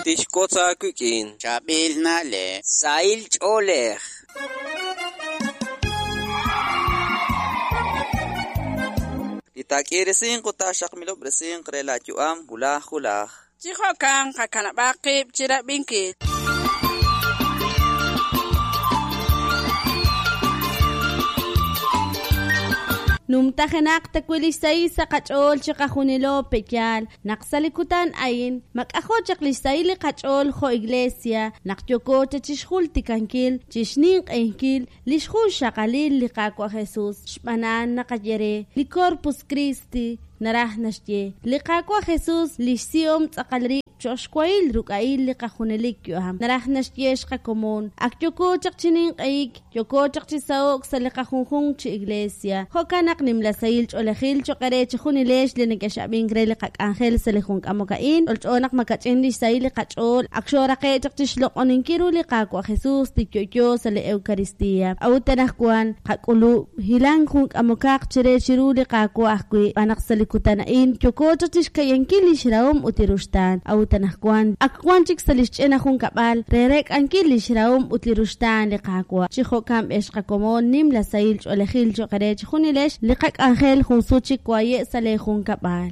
Tixwotz aawik'in Chaab'il na'leb'. Sahil ch'oolej. Li taak'iiresinq ut taaxaqmilob'resinq re laayu'am wulaj wulaj. Chi jo'kan qakanab'aq qib' chi rab'inkil. Numtajenaq tawi' li xsahil sa' qach'ool chiqajunilo pe'yaal naq sa' li kutan a'in mak'ajo' chaq li xsahil li qach'ool jo' iglesia naq yooko cha chixjultikankil chixninq'ehinkil li xjunxaqalil li Qaawa' Jesús xb'aan a'an naqaye re li Corpus Christi naraj naxye li Qaawa' Jesús li xsihom tz'aqal rib' cho'q xwahil ruk'a'il li qajunelik yu'am naraj naxye xqakomon ak yooko chaq chi ninq'ehik yooko chaq chi saho'k sa' li qajunjunq chi iglesia jo'kan naq nimla sahil ch'oolejil cho'q eere chejunilex li nekex'ab'ink re li qak'anjel sa' li jun k'amok a'in ch'olch'o naq makach'in li xsahil li qach'ool ak xooraqe' chaq chi xloq'oninkil ru li Qaawa' Jesús li yo'yo sa' li Eucaristía a'ut anaqwan qak'ulub' hilank jun k'amokaq chire chiru li Qaawa' ajwi' xb'aan naq sa' li kutan a'in yooko chaq chi xka'yankil li xrahom ut li ruxtaan a'ut anaqwan ak wan chik sa' li xch'ina junkab'al re reek'ankil li xrahom ut li ruxtaan li Qaawa' chi jo'kan b'ex qakomon nimla sahil ch'oolejil cho'q eere chejunilex li qak'anjel jun sut chik waye' sa' leejunkab'al.